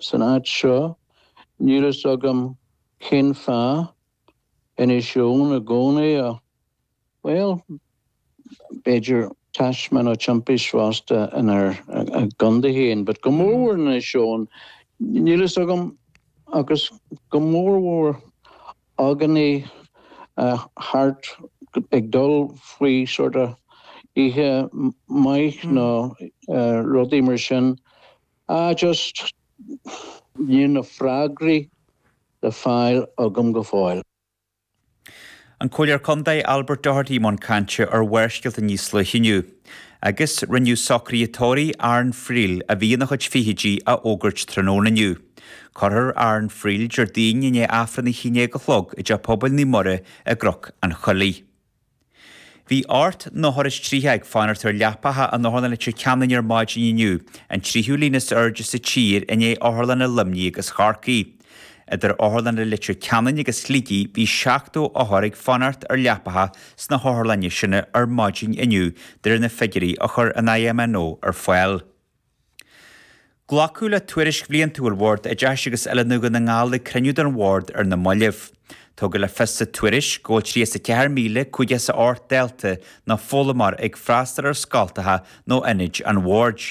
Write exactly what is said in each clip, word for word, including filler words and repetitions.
san áit seo, níl fhios agam cén fáth Inis Eoghain i gcónaí a bhuel b'fhéidir taisme nó timpist fosta inár gcontae féin, but go mórmhór Inis Eoghain níl fhios agam agus go mórmhór againne thart ag dul faoi sort of oíche maith nó rudaí mar sin. Ah just níl na freagraí le fáil agam go fóill. An Comhairleoir Contae Albert Doherty i mbun cainte ar Bharrscéalta níos luaithe inniu. Agus rinneadh socruithe tórraimh Aaron Friel a bhí ina chuid fichidí a fhógairt tráthnóna inniu. Cuirfear Aaron Friel Déardaoin i ndiaidh Aifreann a haon déag a chlog i dTeach Pobail Naomh Muire i gCnoc an Choiligh. Bhí ocht n-othar is tríocha ag fanacht ar leapacha in Otharlann Leitir Ceanainn ar maidin inniu, an tríú líon is airde sa tír i ndiaidh otharlanna Luimnigh agus Chorcaí. Idir otharlanna Leitir Ceanainn agus Shligigh bhí seachtó othar ag fanacht ar leapacha sna hotharlanna sin ar maidin inniu de réir na figiúirí a chuir an IMNO ar fáil. Glacadh le tuairisc bhliantúil Bhord Oideachais agus Oiliúna Dhún na nGall ag cruinniú den bhord ar na mallaibh. Tugadh le fios sa tuairisc go bhfuil tríocha ceathair míle cúig chéad is a hocht dalta nó foghlaimeoir ag freastal ar scoltacha nó ionaid an bhoird.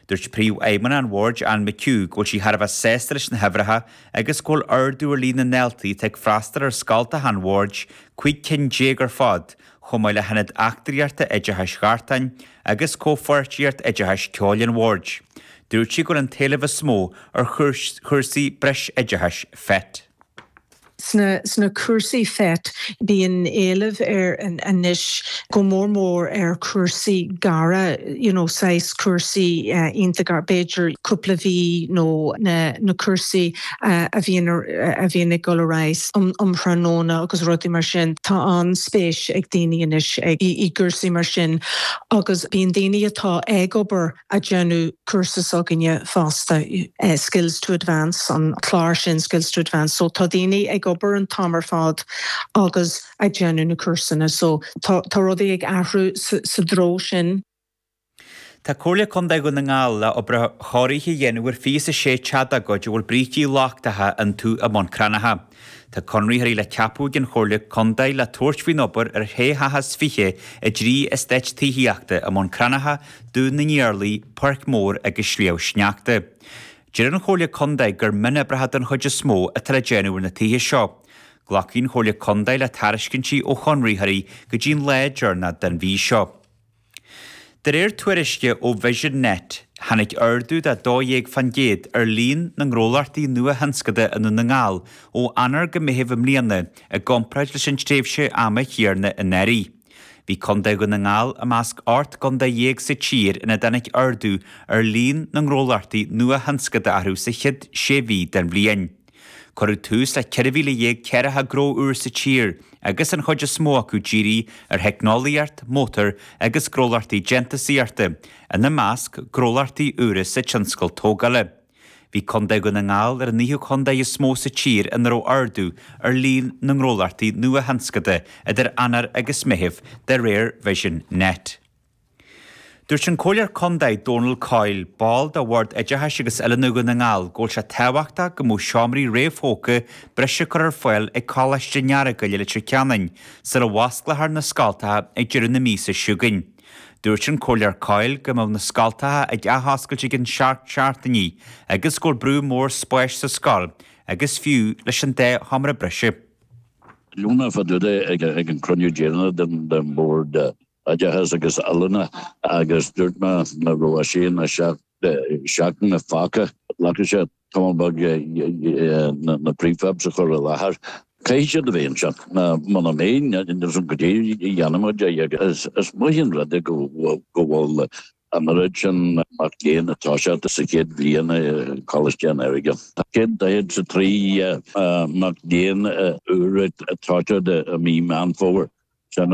Dúirt príomhfheidhmeannach an bhoird Anne McHugh go bhfuil sí thar a bheith sásta leis na huimhreacha agus go bhfuil ardú ar líon na ndaltaí atá ag freastal ar scoltacha an bhoird cúig cinn déag ar fad, chomh maith le hionad eachtraíochta oideachais Ghartáin agus comhpháirtíocht oideachais ceoil an bhoird. Dúirt sí go bhfuil an t-éileamh is mó ar chúrsaí breisoideachais FET. Sna, sna cúrsaí FET bíonn éileamh ar anois go mór mór ar chúrsaí gearra you know, saghas cúrsaí uh, iontach b'fhéidir cúpla mí nó na, na cúrsaí uh, a bhíonn a bhíonn ag dul ar aghaidh um, um thráthnóna agus rudaí mar sin tá an-spéis ag daoine anois ag i, i gcúrsaí mar sin agus bíonn daoine atá ag obair ag déanamh cúrsa s'againne fosta uh, skills to advance an clár sin skills to advance so tá daoine ag obair an t-am ar fad agus ag déanamh na cúrsaí so tá rudaí ag athrú sa, sa treo sin. Tá Comhairle Contae Dhún na nGall le obair chóirithe a dhéanamh ar fiche sé teach dá gcuid a bhfuil brící lochtacha iontu i mBun Cranncha. Tá conraitheoirí le ceapadh ag an Chomhairle Contae le tabhairt faoin obair ar shé theach is fiche i dtrí eastát tithíochta i mBun Cranncha, Dún na nIarlaí, Páirc Mór agus Sliabh Sneachta. Deir an Chomhairle Contae gur mionoibreacha den chuid is mó atá le déanamh ar na tithe seo. Glacfaidh an Chomhairle Contae le tairiscintí ó chonraitheoirí go dtí an lá deireanach den mhí seo. De réir tuairisce ó Vision Net, tháinig ardú de dó dhéag faoin gcéad ar líon na ngnólachtaí nua-thionscanta i nDún na nGall ó Eanáir go Meitheamh i mbliana i gcomparáid leis an tréimhse ama chéanna anuraidh. Bhí Contae Dhún na nGall i measc ocht gcontae dhéag sa tír ina dtáinig ardú ar líon na ngnólachtaí nua-thionscanta orthu sa chéad sé mhí den bhliain. Cuireadh tús le ceithre mhíle dhéag ceathracha gnó úr sa tír, agus an chuid is mó acu dírithe ar theicneolaíocht, mótar agus gnólachtaí déantúsaíochta, ina measc gnólachtaí úra sa tionscal tógála. Bhí Contae Dhún na nGall ar an naoú contae is mó sa tír ina raibh ardú ar líon na ngnólachtaí nua-thionscanta idir Eanáir agus Meitheamh de réir Vision Net. Dúirt an Comhairleoir Contae Donal Coyle, ball de Bhord Oideachais agus Oiliúna Dhún na nGall, go bhfuil sé tábhachtach go mbeadh seomraí réamhthógtha breise curtha ar fáil ag Coláiste an Earagail i Leitir Ceanainn sula bhfosclófar na scoltacha ag deireadh na míosa seo chugainn. Dúirt an Comhairleoir Coyle go mbeadh na scoltacha ag athoscailt i gceann seacht seachtainí agus go bhfuil brú mór spáis sa scoil agus fiú leis an dá sheomra breise. Lúna fadúda ag ag an cruinniú deireanach den den bord oideachais agus oiliúna agus dúirt mé nach raibh sé na seachtaine fágtha glacfaidh sé tamall beag na prefabs a chur i láthair. Caithfidh siad a bheith anseo muna mbeidh go dtí dhéanfaimid é is maith an rud é go bhfuil an oiread sin mac léinn ag toiseacht sa chéad bhliain i Coláiste an Earagail. Céad daichead is a trí mac léinn úr ag toiseacht i mí Meán Fómhair sin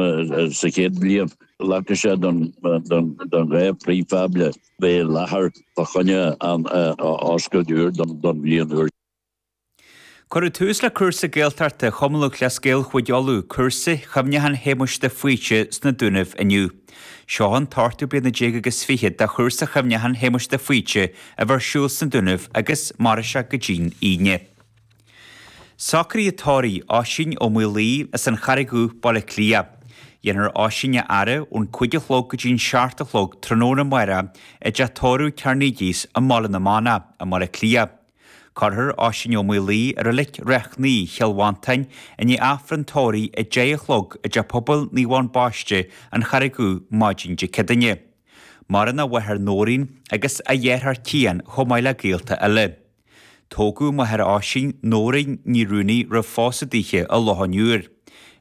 sa chéad bhliain. Glacfaidh sé don dhá prefab le bheith i láthair fá choinne an oscailt úr don bhliain úr. Cuireadh tús le cúrsa Gaeltachta Chumann Lúthchleas Gael Chúige Uladh, cúrsa Chuimhneacháin Shéamuis de Faoite sna Dúnaibh inniu. Seo an t-ochtú bliana déag agus fiche de chúrsa Chuimhneacháin Shéamuis de Faoite a bheidh ar siúl sna Dúnaibh agus mairfidh sé go dtí'n Aoine. Socruithe tórraimh Oisín Ó Maolaodha as an Charraig Dhubh, Baile Átha Cliath. Dhéanfar Oisín a fhaire ón cúig a chlog go dtí'n seacht a chlog tráthnóna amárach i dteach tórraimh Carnegie's i mBaile na Manach i mBaile Átha Cliath. Cuirfear Oisín Ó Maolaodha i Reilig Ráth Cnaí, Chill Mhantáin, i ndiaidh Aifreann tórraimh a deich a chlog i dteach pobail Naomh Eoin Baiste, An Charraig Dhubh, maidin Dé Céadaoine. Maireann a mháthair Nóirín agus a dheartháir Cian chomh maith le gaolta eile. Tógadh máthair Oisín, Nóirín Ní Rúnaí roimh phósadh daoithe i Loch an Iúir.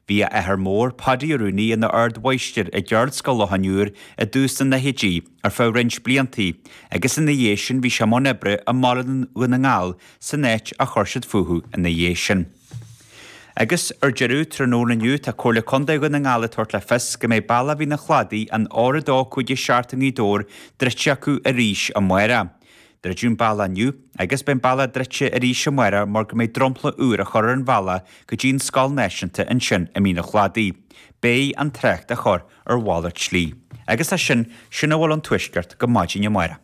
Bhí a athair mór, Paddy Ó Rúnaí, ina ardmháistir i gCeardscoil Loch an Iúir i dtús na ndaichidí ar feadh roinnt blianta agus ina dhiaidh sin bhí sé i mbun oibre i mBaile Dhún na nGall san áit a chuir siad fúthu ina dhiaidh sin. Agus ar deireadh tráthnóna inniu tá Comhairle Contae Dhún na nGall ag tabhairt le fios go mbeidh bealach Mhín an Chladaigh an R a dó cúig a seacht i nGaoth Dobhair druidte acu arís amárach. Druideadh an bealach inniu agus beidh an bealach druidte arís amárach mar go mbeidh dromchla úr á chur ar an bhealach go dtí an Scoil Náisiúnta ansin i Mín an Chladaigh. Beidh an trácht á chur ar mhalairt slí. Agus leis sin, sin a bhfuil ón Tuaisceart go maidin amárach.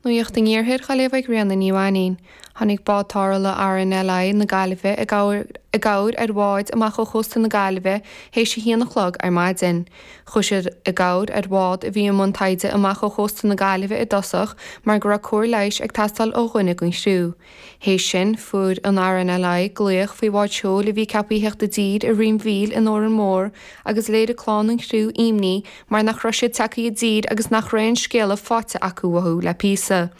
Nuacht an Iarthair á léamh ag Ríona Ní Mhainín. Tháinig bád tarrthála RNLI na Gaillimhe i gcabhair ar bhád amach ó chósta na Gaillimhe théis a haon a chlog ar maidin. Chuaigh siad i gcabhair ar bhád a bhí i mbun taighde amach ó chósta na Gaillimhe i dtosach mar go raibh cóir leighis ag teastáil ó dhuine den chriú. Théis sin fuair an RNLI glaoch faoi bhád seoil a bhí ceaptha a theacht i dtír i Rinn Mhíl in Órán Mór agus léirigh clann an chriú imní mar nach raibh siad tagtha i dtír agus nach raibh aon scéala faighte acu uathu le píosa.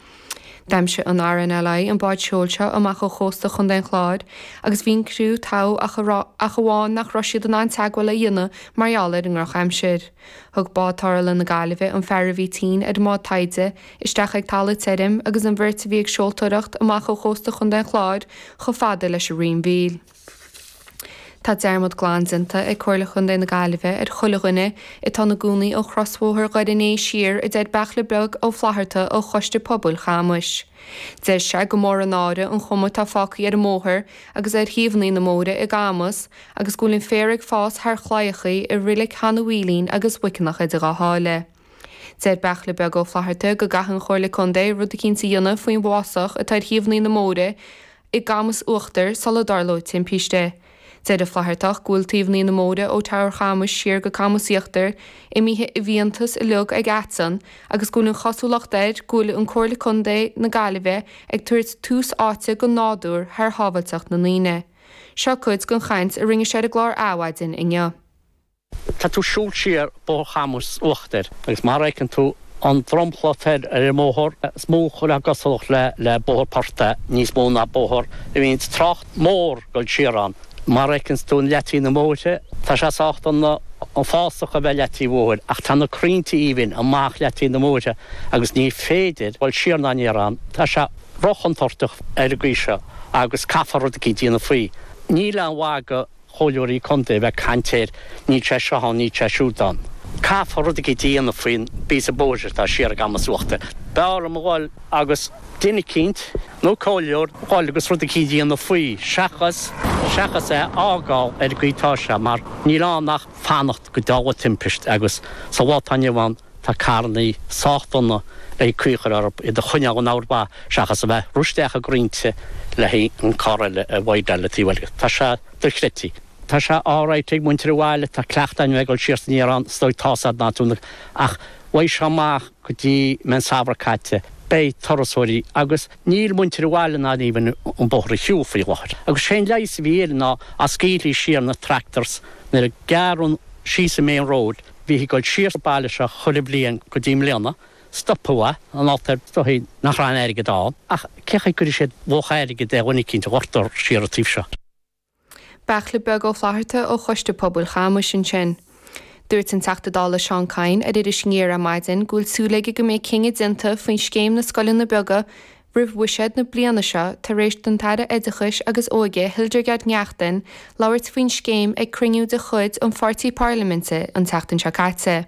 D'aimsigh an RNLI an bád seoil seo amach ó chósta Chontae an Chláir agus bhí an criú togha ach ach amháin nach raibh siad in ann teagmháil a dhéanamh mar gheall ar an ndrochaimsir. Thug bád tarrthála na Gaillimhe an fear a bhí tinn ar an mbád taighde isteach ag talamh tirim agus an bheirt a bhí ag seoltóireacht amach ó chósta Chontae an Chláir chomh fada leis an Rinn Mhíl. Tá dearmad glan déanta ag Comhairle Chontae na Gaillimhe ar chuile dhuine atá ina gcónaí ó chrosbhóthar Dhoire an Fhéich siar a deir Beairtle Beag Ó Flatharta ó Choiste Pobail Chamais. Deir sé gur mór an náire an chuma atá fágtha ar an mbóthar agus ar thaobhanna na mbóithre i gCamus agus go bhfuil an féar ag fás thar chlaíochaí i Reilig Sheanadh Mhaoilín agus Mhuiceanach idir dhá sháile. Deir Beairtle Beag Ó Flatharta go gcaithfidh an Chomhairle Contae rud eicínt a dhéanamh faoin bhfásach atá ar thaobhanna na mbóithre i gCamus Uachtar sula dtarlóidh timpiste. Deir an Flathartach go bhfuil taobhanna na mbóithre ó Teamhair Chamais siar go Camus Íochtar imithe i bhfiántas uilig ag aiteann agus go bhfuil an chosúlacht air go bhfuil an Comhairle Contae na Gaillimhe ag tabhairt tús áite don nádúr thar shábháilteacht na ndaoine. Seo cuid den chaint a rinne sé ar an gclár Adhmhaidin inniu. Tá tú ag siúl siar Bóthar Chamuis Uachtair agus mar a fheiceann tú an dromchla féir ar an mbóthar is mó chuile gcosúlacht le le bóthar portaigh níos mó ná bóthar a bhíonn trácht mór ag dul siar ann. Mar a fheiceann tú an leataobh na mbóithre, tá sé sách dona an fásach a bheith leataobh bóthair ach tá na crainnte aoibhinn amach leataobh na mbóithre agus ní féidir dul siar ná aniar ann. Tá sé róchontúirteach ar an gcaoi seo agus caithfear rud eicínt a dhéanamh faoi. Níl aon mhaith do chomhairleoirí contae a bheith ag caint air, níl sé seo ann, níl sé siúd ann. Caithfear rud eicínt a dhéanamh faoin bpíosa bóthair atá siar i gCamus Uachtair. B'fhearr liom a dhul agus duine eicínt nó comhairleoir a dhul agus rud eicínt a dhéanamh faoi seachas seachas é a fhágáil ar an gcaoi atá sé mar níl ann ach fanacht go dtarlóidh timpist agus sa lá atá inniu ann tá carrannaí sách dona le caoi a chur orthu iad a choinneáil in ord mhaith seachas a bheith ag rith isteach i gcrainnte le haghaidh an carr eile a bhaighdeáil le taobh eile. Tá sé dochreidte. Tá sé alright ag muintir an bhaile, tá cleachtadh againn a bheith ag dul siar is aniar ann, is dóigh tá's a'd ná tú na ach bheidh sé amach go dtí mbeidh an samhradh caite, beidh turasóirí agus níl muintir an bhaile in ann even an bóthar a shiúl faoi láthair. Agus sé'n leigheas a bhí air ná dá scaoilfí siar na tractors nuair a gearradh síos an main road, bhíthí ag dul siar sa baile seo chuile bhliain go dtí i mbliana, stopadh é, an alt ar dóigh nach raibh aon airgead ann, ach cé chaoi gcuirfidh siad luach airgid ar dhuine eicínt a dhoirtear siar an taobh seo. Beairtle Beag Ó Flatharta ó Choiste Pobail Chamais ansin. Dúirt an Teachta Dála Seán Kyne ar Iris Aniar ar maidin go bhfuil súil aige go mbeidh cinneadh déanta faoin scéim na scoileanna beaga roimh bhuiséad na bliana seo tar éis don tAire Oideachais agus Óige Hildegarde Naughton labhairt faoin scéim ag cruinniú de chuid an pháirtí parlaiminte an tseachtain seo caite.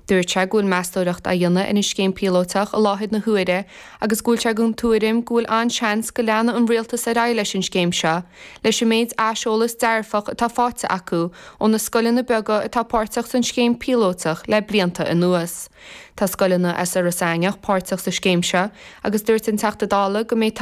Dúirt sé go bhfuil meastóireacht á dhéanamh ar an scéim píolótach i láthair na huaire agus go bhfuil sé den tuairim go bhfuil an-seans go leanfaidh an rialtas ar aghaidh leis an scéim seo, leis an méid aiseolas dearfach atá faighte acu ó na scoileanna beaga atá páirteach san scéim píolótach le blianta anuas. Tá scoileanna as Iorras Aithneach páirteach sa scéim seo agus dúirt an Teachta Dála go mbeidh